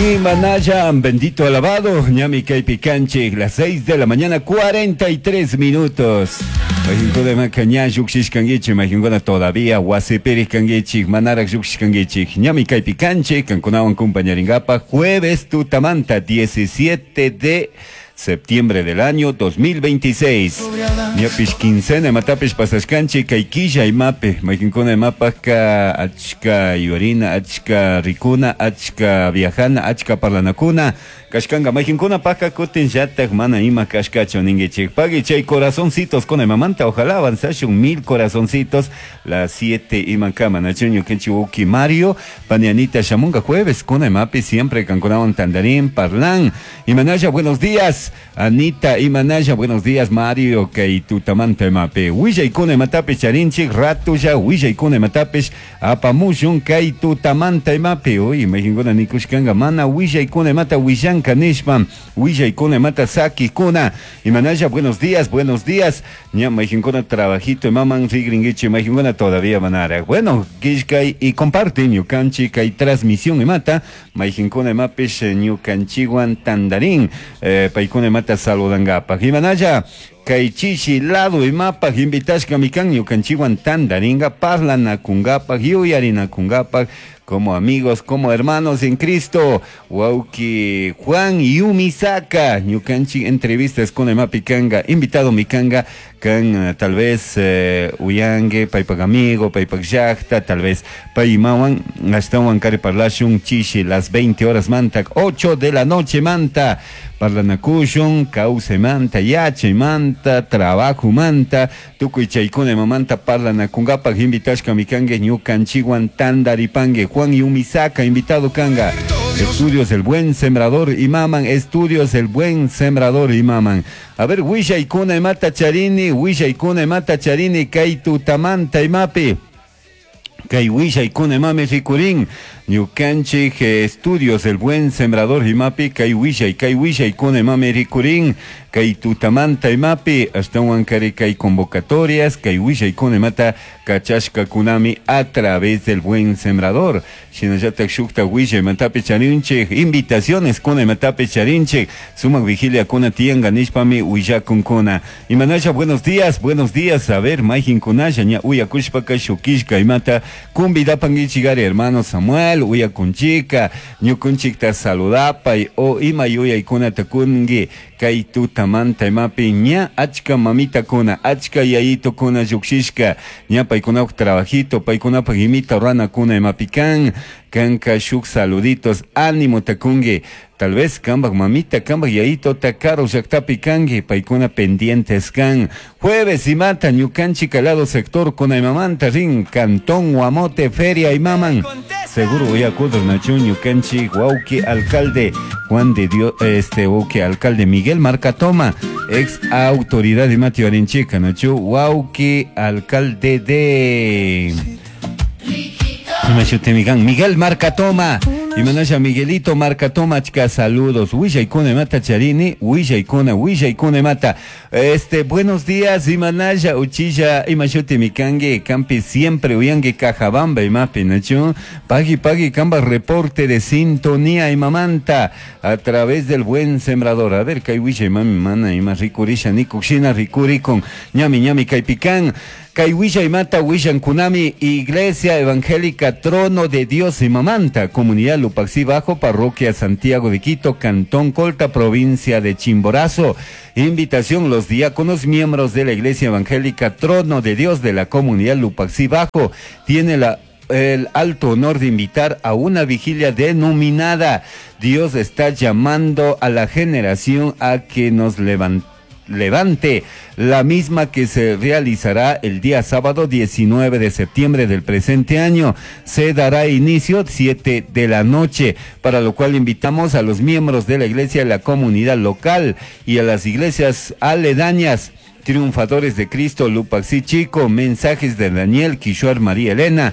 Imanalla, bendito alabado, ñami kaypi kanchik, las 6 de la mañana, 43 minutos. Mayqinkuna ña lluqshishkankichik, mayqinkuna todavía wasipirij kankichik, manaraq lluqshishkankichik. Ñami kaypi kanchik, kankunawan compañaringapaq jueves tutamanta 17 de septiembre del año 2026. Ñapish quincena imatapish pasashkanchik kay killa imapi, mayqinkuna imapaqka achka yuyarina, achka rikuna, achka viajana, achka parlanakuna kashkanka. Mayqinkunapaqqa kutinllatak mana ima kashkachu ninkichik. Pagui chay corazoncitos kuna imamanta, ojalá avanzashun 1000 corazoncitos las 7 imakama. Nachu ñukanchik wawki Mario, pani Anita shamunga jueves kuna imapi siempre kankunawan tandarin parlan. Imanalla, buenos días, Anita, Imanalla, buenos días, Mario, kay tutamanta imapi. Willaykuna imatapish charinchik, ratulla, willaykuna imatapish apamushun kay tutamanta imapi. Uy, mayqinkuna nikushkanka, mana willaykuna imata willanka nishpa, willaykuna imata sakikuna. Imanalla, buenos días, buenos días. Ña mayqinkuna trabajito imaman rigrinkichik, mayqinkuna todavía manaraq. Bueno, killkay y comparte ñukanchik kay transmisión imata, mayqinkuna imapish ñukanchikwan tandarin, paykuna imata saludankapaq. Imanalla, kay chishi lado imapaq invitashkami kan ñukanchikwan tandaringa, parlanakunkapaq, yuyarinakunkapaq, como amigos, como hermanos en Cristo. Wawki Juan Yumisaka, ñukanchik entrevistas con imapi kanga, invitado mikanga, kan tal vez uyangue, paypak amigo, paypak llaqta, tal vez paymawan, ashtawan kari parlashun chishi las 20 horas mantak, 8 de la noche manta, parlanakushun, kawsay manta, yachay manta, trabajo manta, tukuy chaykuna imamanta parlanakunkapaq invitashka mikangue ñukanchikwan tandaripangue. Juan Yumisaka, invitado kanga. Estudios El Buen Sembrador y Maman, Estudios El Buen Sembrador y Maman. A ver, willaykuna imata charini, willaykuna imata charini, kay tutamanta imapi. Kay willaykuna imami rikurin, ñukanchik Estudios El Buen Sembrador imapi, kay willay, kay willaykuna imami rikurin, kay tutamanta imapi, ashtawan kari kay convocatorias, kay willaykuna imata kachashkakunami a través del Buen Sembrador. Shinallatak shukta willay imatapi charinchik, invitaciones kuna imatapi charinchik, sumak vigilia kuna tiyanka nishpami willakunkuna. Imanalla, buenos días, buenos días, a ver, mayqinkunalla ña uyakushpaka shukishka imata convidapankichikari hermano Samuel, uyakunchika, ñukunchikta saludapay, o ima yuyaykunata kunki, kay tutamanta imapi ña achka mamitakuna, achka yayitukuna lluqshishka, ña paykunapak trabajito, paykunapak imita ruranakuna imapi kan, kanka shuk saluditos, ánimo takunki, tal vez kambak mamita, kambak yayito karu llaqtapi kanki, paykuna pendientes kan. Jueves imata ñukanchik alado sector kuna imamanta rin, Cantón Guamote, Feria imaman. Seguro uyakudur nachu ñukanchik wawki alcalde Juan de Dios, wawki alcalde Miguel Marcatoma, ex autoridad imati warinchika nachu, wawki alcalde de Imashutimikan, Miguel Marcatoma. Imanasha Miguelito Marcatoma, chica, saludos. Willaykuna imata charini, willaykuna, willaykuna imata. Buenos días, Imanasha, uchilla, imashutimikangue, campi siempre uyangue Cajabamba, imapi, nachu. Pagui, pagui, camba reporte de sintonía imamanta a través del Buen Sembrador. A ver, kay willa, imami, mana, ima ricurisha, nikushina, ricuricon, ñami, ñami, kaypikan. Kay willa imata willankunami, Iglesia Evangélica Trono de Dios Imamanta, Comunidad Lupaxí Bajo, Parroquia Santiago de Quito, Cantón Colta, Provincia de Chimborazo. Invitación, los diáconos, miembros de la Iglesia Evangélica Trono de Dios de la Comunidad Lupaxí Bajo, tiene el alto honor de invitar a una vigilia denominada Dios está llamando a la generación a que nos levante, la misma que se realizará el día sábado 19 de septiembre del presente año. Se dará inicio 7 de la noche, para lo cual invitamos a los miembros de la iglesia, de la comunidad local y a las iglesias aledañas. Triunfadores de Cristo, Lupaxí Chico, Mensajes de Daniel, Quishuar María Elena,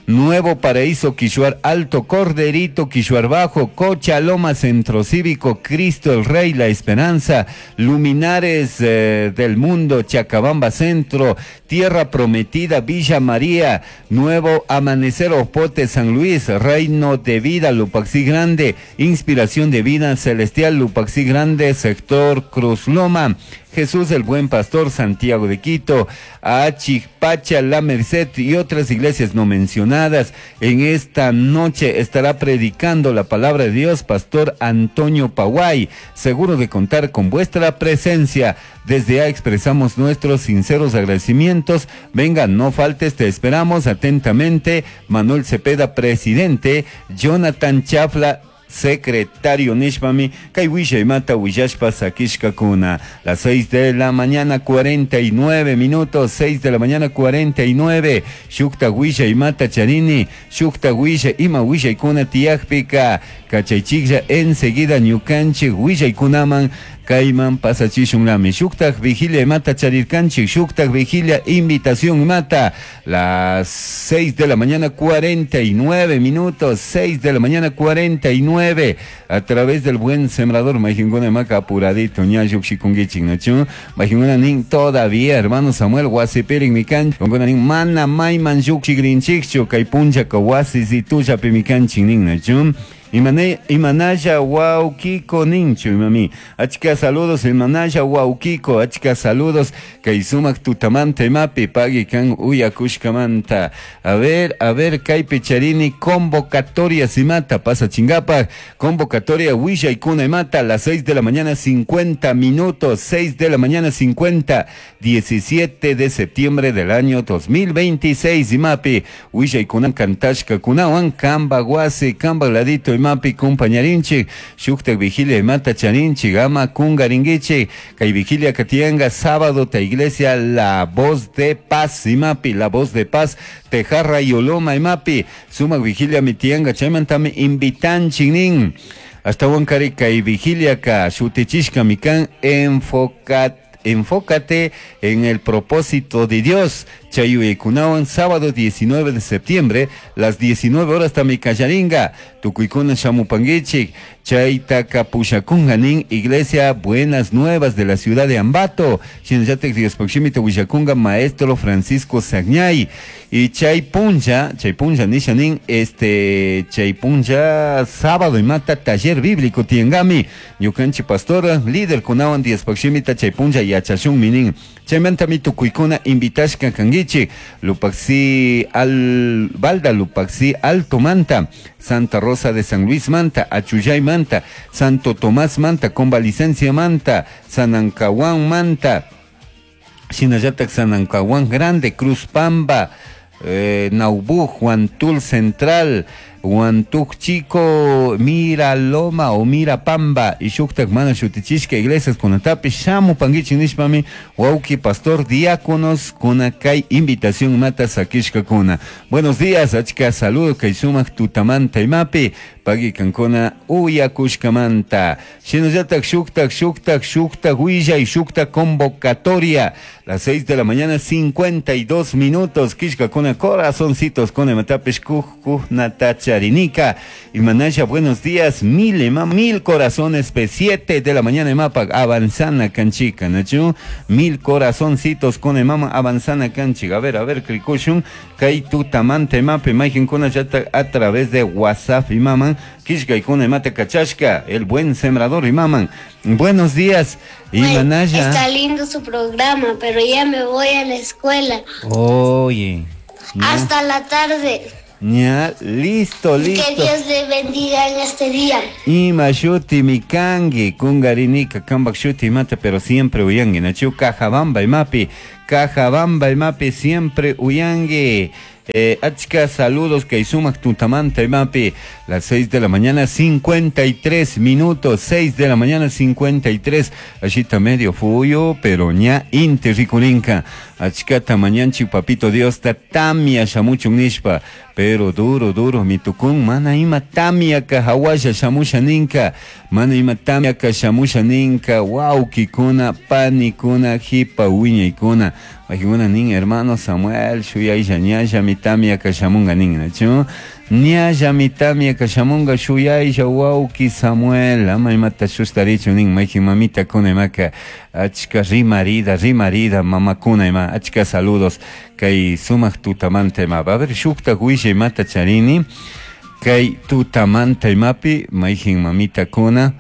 Nuevo Paraíso, Quishuar Alto, Corderito, Quishuar Bajo, Cochaloma, Centro Cívico, Cristo el Rey, La Esperanza, Luminares del Mundo, Chacabamba Centro, Tierra Prometida, Villa María, Nuevo Amanecer, Opote, San Luis, Reino de Vida, Lupaxí Grande, Inspiración de Vida Celestial, Lupaxí Grande, Sector Cruz Loma, Jesús el Buen Pastor, Santiago de Quito, Achicpacha, La Merced y otras iglesias no mencionadas. En esta noche estará predicando la palabra de Dios, Pastor Antonio Paguay. Seguro de contar con vuestra presencia. Desde ya expresamos nuestros sinceros agradecimientos. Venga, no faltes, te esperamos atentamente. Manuel Cepeda, presidente. Jonathan Chafla, secretario nishpami kay willaymata willashpa sakishkakuna. Las 6 de la mañana 49 minutos, 6 de la mañana 49. Shukta willaymata charini, shukta willa ima willaykuna tiyakpika kachaychiklla enseguida ñukanchik willaykunaman kayman pasachishunlami. Shuktak vigilia imata charirkanchik, shuktak vigilia invitación imata. Las 6 de la mañana 49 minutos, 6 de la mañana 49, a través del buen sembrador, majinguna maca apuradito, ña yukshikungichik, nachu, majinguna nin todavía, hermano Samuel, wasipirin mikan, nin mana mayman yukshigrinchikchu, kay puncha ka wasisitulla pimikanchik nin, nachu. Imanaya Wauquico ninchu, imami. Achka saludos, Imanaya Wauquico, achka saludos. Kay sumak tutamanta imapi, pagui kan uyakushkamanta. A ver, kaypi charini convocatoria simata, pasa chingapa. Convocatoria willaykuna imata, las 6 de la mañana 50 minutos, 6 de la mañana 50, 17 de septiembre del año 2026, imapi. Willaykuna kantashka kunawan, kamba guasi, kamba ladito imapi kumpañarinchik, shuktak vigilia imata charinchik, ama kungaringuichik, kay vigilia katianga sábado ta iglesia La Voz de Paz imapi, La Voz de Paz, Tejarra y Oloma imapi, sumak vigilia mitianga, chaymantami invitanchik nin. Hasta wankari kay vigilia ka shutichishka mikan enfócate en el propósito de Dios. Chayuyekunawan, sábado 19 de septiembre, las 19 horas tamikallaringa, tukuykuna shamupanguichik, chaytaka pushakunga nin, Iglesia Buenas Nuevas de la ciudad de Ambato, shinallatak Diospakshimita willakunga maestro Francisco Sagñay, y chaypunlla, chaypunlla nisha nin, chaypunlla sábado imata taller bíblico tiangami, ñukanchik pastora, líder kunawan Diospakshimita chaypunlla yachashunmi nin, chaymantami tukuykuna invitashka kanguichik, Lupaxi al Balda, Lupaxi Alto Manta, Santa Rosa de San Luis Manta, Achuyay Manta, Santo Tomás Manta, Convalicencia Manta, Sanancahuán Manta, Shinallatak Sanancahuán Grande, Cruz Pamba, Naubú, Huantul Central, Huantuc Chico, Miraloma o Mirapamba, y Shuktak Mana Shutichishka, iglesias kunatapi, shamu panguichi nishpami, wauki pastor diáconos, kunakay invitación mata sakishka kuna. Buenos días, achka saludo, kay sumak tutamanta imapi, pagui kankuna uyakushkamanta. Shinallatak shuktak, shuktak, shuktak, huilla y shuktak convocatoria. Las 6 de la mañana, 52 minutos, kishka kuna corazoncitos, kuna matapish kuj, kuj, natacha. Arinica. Y Manaya, buenos días, mil, mil corazones, P7 de la mañana, mapa, avanzana canchica, nachu, mil corazoncitos con mama, avanzana canchica. A ver, krikushun, kai tu tamante mape, majin kuna yata a través de WhatsApp y maman, kishka y kuna mate kachashka, el buen sembrador y maman. Buenos días, y Manaya. Está lindo su programa, pero ya me voy a la escuela. Oye. No. Hasta la tarde. Ya, listo, listo. Que Dios le bendiga en este día. Ima shuti mikangi, kungarinika, kambak shuti mata, pero siempre uyangi. Nachu kajabamba imapi, kajabamba imapi, siempre uyangi. Achka, saludos, que sumak tutamanta imapi. Las 6 de la mañana, 53 minutos, 6 de la mañana, 53. Allí está medio fuyo, pero ña inti ricurinca. Achkata mañanchi, papito Dios, ta tamia shamuchun nishpa. Pero duro, duro, mi tukun, mana ima tamia ka hawasha shamusha ninka. Mana ima tamia ka shamusha ninka. Wow, kikuna, panikuna, hipa, wiñaykuna. Majinguna nin, hermano Samuel, shuyay ñalla, mi tamia ka shamunga nin, nachu. Ñallami tamia shamunga shuyaisha wauki Samuel ama imata shustarichu nin mayjin mamitakuna imaka achka rimarida rimarida mamakuna ima achka saludos kay sumak tutamanta ima. A ver shuktak wisha imata charini kay tutamanta imapi mayjin mamitakuna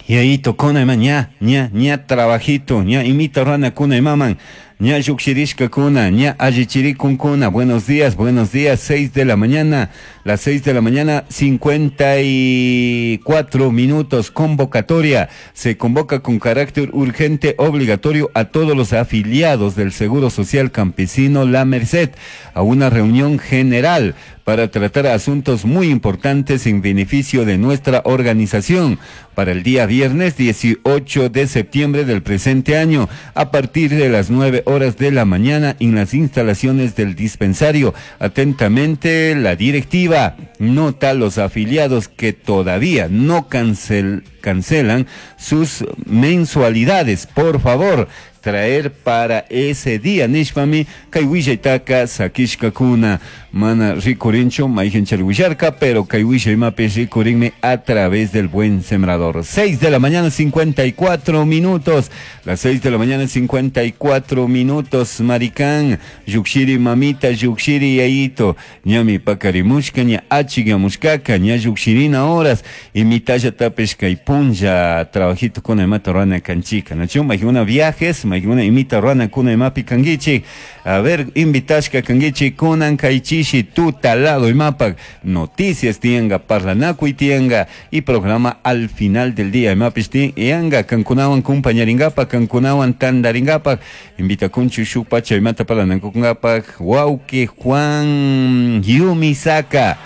Yayito kuna ima ña ña ña trabajito ña imita rana kuna imaman ña llukshirishkakuna ña allichirikunkuna. Buenos días, buenos días, 6 de la mañana, las 6 de la mañana, 54 minutos. Convocatoria. Se convoca con carácter urgente obligatorio a todos los afiliados del Seguro Social Campesino La Merced a una reunión general para tratar asuntos muy importantes en beneficio de nuestra organización para el día viernes 18 de septiembre del presente año a partir de las 9 horas de la mañana en las instalaciones del dispensario. Atentamente, la directiva nota a los afiliados que todavía no cancelan sus mensualidades. Por favor, traer para ese día. Nishpami kay willaytaka sakishkakuna mana rikurinchu mayjin willarka, pero kay willaymapi rikurinmi a través del Buen Sembrador. 6 de la mañana 54 minutos. Las 6 de la mañana 54 minutos. Maricán, yukshiri mamita, yukshiri yayito, ñami pakarimushka, ña achigamushkaka, ña yukshirina horas, y mitalla tapesh kay punlla, trabajito con imata rana canchica, ¿no? Mayjuna viajes, mayjuna imita rana kuna imapi kanguichi, a ver, invitashka kanguichi, kunan kaychishi, tutalado imapak, noticias tianga, parlanakuy tianga, y programa al final del día, imapis tianga, kankunawan kumpañaringapa, kankunawan tandaringapa, invita kunchu shukpacha imata parlanakungapa, wauki Juan Yumisaka,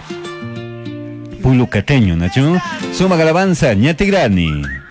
Pulucateño, ¿no? Suma alabanza, ñatigrani.